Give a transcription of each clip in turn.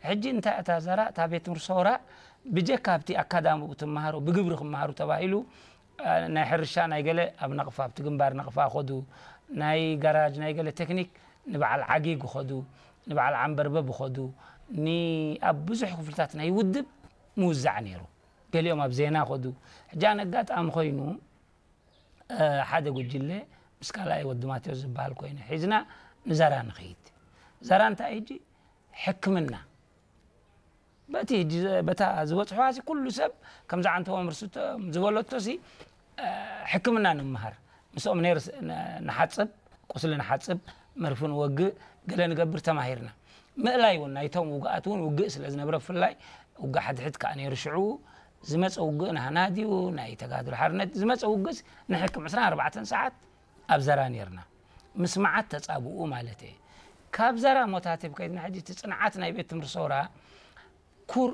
ሕጂ እንታይ እታ ዘራ፣ እታ ቤት ትምህርቲ ሰውራ ብጀካ ኣብቲ ኣካዳሚኡ ትመሃሮ፣ ብግብሪ ክመሃሩ ተባሂሉ፣ እ፣ ናይ ሕርሻ ናይ ገለ ኣብ ነቕፋ፣ ኣብቲ ግንባር ነቕፋ ኸዱ፣ ናይ ጋራጅ ናይ ገለ ቴክኒክ ንበዓል ዓጊግ ኸዱ፣ ንበዓል ዓንበርበብ ኸዱ፣ ኒ-፣ ኣብ ብዙሕ ክፍልታት ናይ ውድብ ምውዛዕ ነይሩ። ገሊኦም ኣብ ዜና ኸዱ። ሕጂ ኣነ ኣጋጣሚ ኮይኑ፣ እ፣ ሓደ ጉጅለ ምስ ካልኣይ ወዲ ማቴዎስ ዝበሃል ኮይኑ ሒዝና ንዘራ ንኸይድ። ዘራ እንታይ ሕጂ? ሕክምና። በቲ ሕጂ ዘ-፣ በታ ዝበጽሕዋ ሲ ኩሉ ሰብ ከምዚ ዓንተቦ ምርስቶ ዝበለቶ ሲ፣ እ፣ ሕክምና ንምሃር። ምስኦም ነርስ ን-፣ ንሓጽብ፣ ቁስሊ ንሓጽብ፣ መርፊ ንወግእ፣ ገለ ንገብር ተማሂርና። ምእላይ እውን ናይቶም ውግኣት እውን ውግእ ስለ ዝነብረ ብፍላይ ውግእ ሓድሕድ ከኣ ነይሩ ሽዑ። ዝመጸ ውግእ ናህና ድዩ ናይ ተጋድሎ ሓርነት? ዝመጸ ውግእስ ንሕክም ዕስራን ኣርባዕተን ሰዓት ኣብ ዘራ ነይርና። ምስ መዓት ተጻብኡ ማለት እየ። ካብ ዘራ ሞታቴብ ከይድና ሕጂ እቲ ጽንዓት ናይ ቤት ትምህርቲ ሰውራ ኩር፣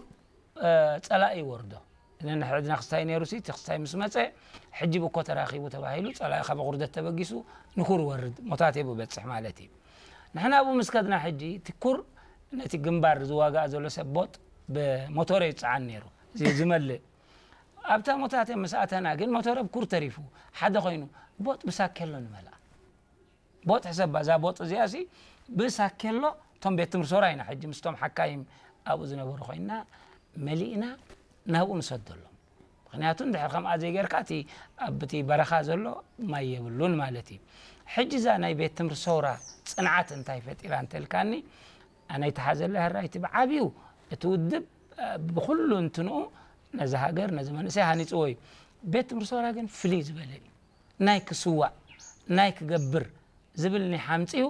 እ፣ ጸላኢ ይወርዶ። ነንሕድና ክስታይ ነይሩ ሲ፣ እቲ ክስታይ ምስ መጸ፣ ሕጂ ብኮ ተራኺቡ ተባሂሉ፣ ጸላኢ ካብ ቁርደት ተበጊሱ ንኩር ወርድ፣ ሞታቴብ በጽሕ ማለት እዩ። ንሕና ኣብኡ ምስ ከድና ሕጂ፣ እቲ ኩር ነቲ ግንባር ዝዋጋእ ዘሎ ሰብ ቦጥ ብሞቶረ ይጸዓን ነይሩ። እዚ ዝመልእ። ኣብታ ሞታቴብ ምስ ኣተና ግን፣ ሞቶረ ብኩር ተሪፉ፣ ሓደ ኮይኑ፣ ቦጥ ብሳኬሎ ንመልኣ። ቦጥ ሕሰባ፣ እዛ ቦጥ እዚኣ ሲ ብሳኬሎ፣ እቶም ቤት ትምህርቲ ሶራ ኢና ሕጂ ምስቶም ሓካይም ኣብኡ ዝነበሩ ኮይና መሊእና ናብኡ ንሰደሎም። ምኽንያቱ እንድሕር ከምኣ ዘይጌርካ እቲ ኣብቲ በረኻ ዘሎ ማይ የብሉን ማለት እዩ። ሕጂ እዛ ናይ ቤት ትምህርቲ ሶራ ጽንዓት እንታይ ፈጢራ እንተልካኒ፣ ኣነ ይተሓዘለ ሕራይ እቲ ብዓብዩ እቲ ውድብ፣ እ፣ ብኹሉ እንትንኡ ነዚ ሃገር ነዚ መንእሰይ ሃኒጽዎ እዩ። ቤት ትምህርቲ ሶራ ግን ፍልይ ዝበለ እዩ። ናይ ክስዋእ፣ ናይ ክገብር ዝብል ኒሕ ኣምጺኡ።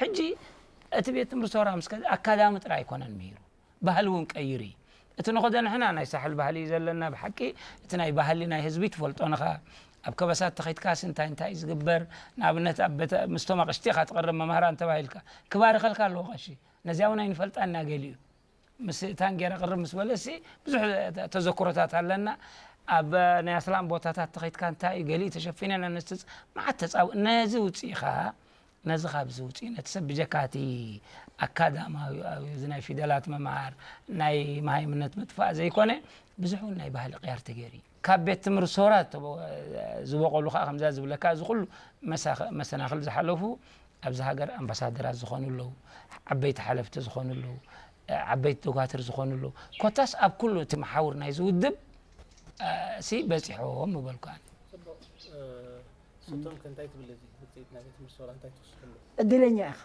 ሕጂ እቲ ቤት ትምህርቲ ሶራ ምስ ከ-፣ ኣካዳሚ ጥራይ ኣይኮነን ምሂሩ፣ ባህሊ እውን ቀይሩ እዩ። እቲ ንኸዶ ንሕና ናይ ሳሕል ባህሊ እዩ ዘለና። ብሓቂ እቲ ናይ ባህሊ ናይ ህዝቢ ትፈልጦ ንኻ። ኣብ ከበሳት ተኸይትካስ እንታይ እንታይ እዩ ዝግበር? ንኣብነት ኣብ ቤተ-፣ ምስቶም ኣቕሽቲ ኢኻ ትቕርብ መምህራን ተባሂልካ። ክባርኸልካ ኣለዎ ቀሺ። ነዚኣ እውን ኣይንፈልጣን ኢና ገሊኡ። ምስ ታንጌራ ቅርብ ምስ በለሲ ብዙሕ ተ-፣ ተዘክሮታት ኣለና። ኣብ ናይ ኣስላም ቦታታት ተኸይትካ እንታይ እዩ ገሊኡ ተሸፊነን ኣነስትስ መዓት ተጻው-፣ ነዚ ውጽኢኻ፣ ነዚ ካብዚ ውጽኢ፣ ነቲ ሰብ ብጀካ እቲ ኣካዳማዊ፣ ኣብ እዚ ናይ ፊደላት ምምሃር፣ ናይ መሃይምነት ምጥፋእ ዘይኮነ፣ ብዙሕ እውን ናይ ባህሊ ቅያር ተገይሩ እዩ። ካብ ቤት ትምህርቲ ሶራ ተበ-፣ ዝበቐሉ ከዓ ከምዛ ዝብለካ፣ እዚ ኩሉ መሳኸ-፣ መሰናኽል ዝሓለፉ፣ ኣብዚ ሃገር ኣምባሳደራት ዝኾኑ ኣለዉ፣ ዓበይቲ ሓለፍቲ ዝኾኑ ኣለዉ፣ ዓበይቲ ዶጋትር ዝኾኑ ኣለዉ። ኮታስ ኣብ ኩሉ እቲ መሓውር ናይዚ ውድብ፣ እ፣ ሲ በጺሖም ምበልኩ ኣነ። ጽቡቕ። እ፣ ስቶም ከ እንታይ ትብል? እዚ ውጽኢት ናይ ቤት ትምህርቲ ሶራ እንታይ ትወስደሉ? እድለኛ ኢኻ።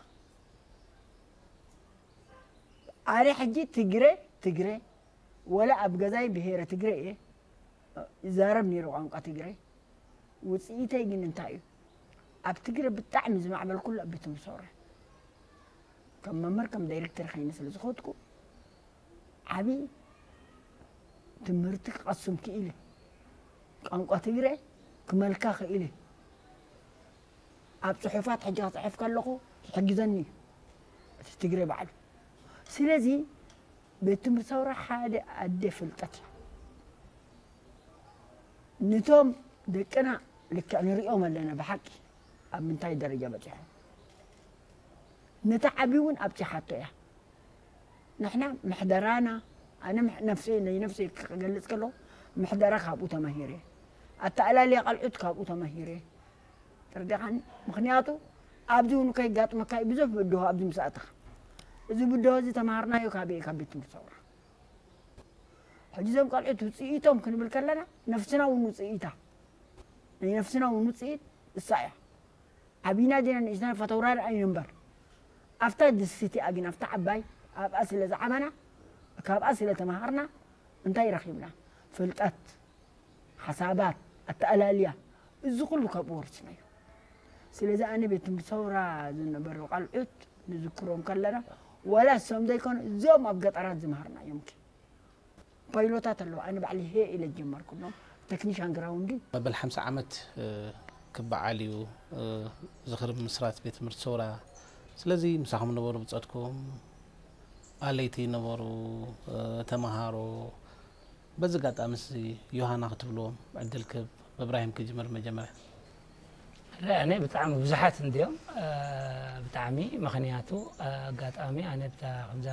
ኣነ ሕጂ ትግረ፣ ትግረ፣ ወላ ኣብ ገዛይ ብሄረ ትግረ እየ፣ ይዛረብ ነይሩ ቋንቋ ትግረ። ውጽኢተይ ግን እንታይ እዩ? ኣብ ትግረ ብጣዕሚ ዝማዕበልኩሉ ኣብ ቤት ትምህርቲ ሰውራ። ከም መምህር፣ ከም ዳይሬክተር ኸይነ ስለ ዝኸድኩ፣ ዓቢ ትምህርቲ ክቐስም ክኢለ። ቋንቋ ትግረ ክመልካ ክኢለ። ኣብ ጽሑፋት ሕጂ ክጽሕፍ ከለኹ ይሕግዘኒ እዩ እቲ ትግረ ባዕሉ። ስለዚ ቤት ትምህርቲ ሰውራ ሓደ ኣደ ፍልጠት እያ። ነቶም ደቅና ልክዕ ንርእዮም ኣለና ብሓቂ ኣብ ምንታይ ደረጃ በጺሖም። ነቲ ዓቢ እውን ኣብጺሓቶ እያ። ንሕና ምሕደራና፣ ኣነ ምሕ-፣ ነፍሰይ፣ ናይ ነፍሰይ ክገልጽ ከለኹ፣ ምሕደራ ካብኡ ተማሂረ። ኣተኣላልያ ቐልዑት ካብኡ ተማሂረ። ተረዲኻኒ? ምኽንያቱ፣ ኣብዚ እውን ከይጋጥመካ እዩ ብዙሕ ብድሆ ኣብዚ ምስ ኣተኻ። እዚ ብድሆ እዚ ተማሃርናዮ ካበይ? ካብ ቤት ትምህርቲ ሰውራ። ሕጂ እዞም ቐልዑት ውጽኢቶም ክንብል ከለና፣ ነፍስና እውን ውጽኢታ። ናይ ነፍስና እውን ውጽኢት እሳ እያ። ዓቢና ዲና ንእሽተን ፈተውራሪ ኣይንንበር። ኣብታ ድስቲ እቲኣ ግን፣ ኣብታ ዓባይ፣ ኣብኣ ስለ ዝዓበና፣ ካብኣ ስለ ተማሃርና፣ እንታይ ረኺብና? ፍልጠት፣ ሓሳባት፣ ኣተኣላልያ፣ እዚ ኩሉ ካብኡ ወሪስናዮ። ስለዚ ኣነ ቤት ትምህርቲ ሰውራ ዝነበሩ ቃልዑት ንዝክሮም ከለና፣ ዋላ እሶም ዘይኮኑ፣ እዞም ኣብ ገጠራት ዝመሃርና እዮም። ፓይሎታት ኣለዉ። ኣነ ባዕሊ ሄ ኢለ ጀመርኩሎም። ቴክኒሻን ግራውንዲ። መበል ሓምሳ ዓመት፣ እ፣ ክበዓል እዩ፣ እ፣ ዝኽሪ ምስራት ቤት ትምህርቲ ሰውራ። ስለዚ ምሳኹም ነበሩ ብጾትኩም፣ ኣለይቲ ነበሩ፣ እ፣ ተመሃሮ። በዚ ኣጋጣሚ እዚ ዮሃና ክትብልዎም ዕድል ክህብ፣ ብእብራሂም ክጅምር መጀመርያ። ኣነ ብጣዕሚ ብዙሓት እንድዮም፣ እ፣ ብጣዕሚ፣ ምኽንያቱ፣ እ፣ ኣጋጣሚ ኣነ ብታ-፣ ከምዛ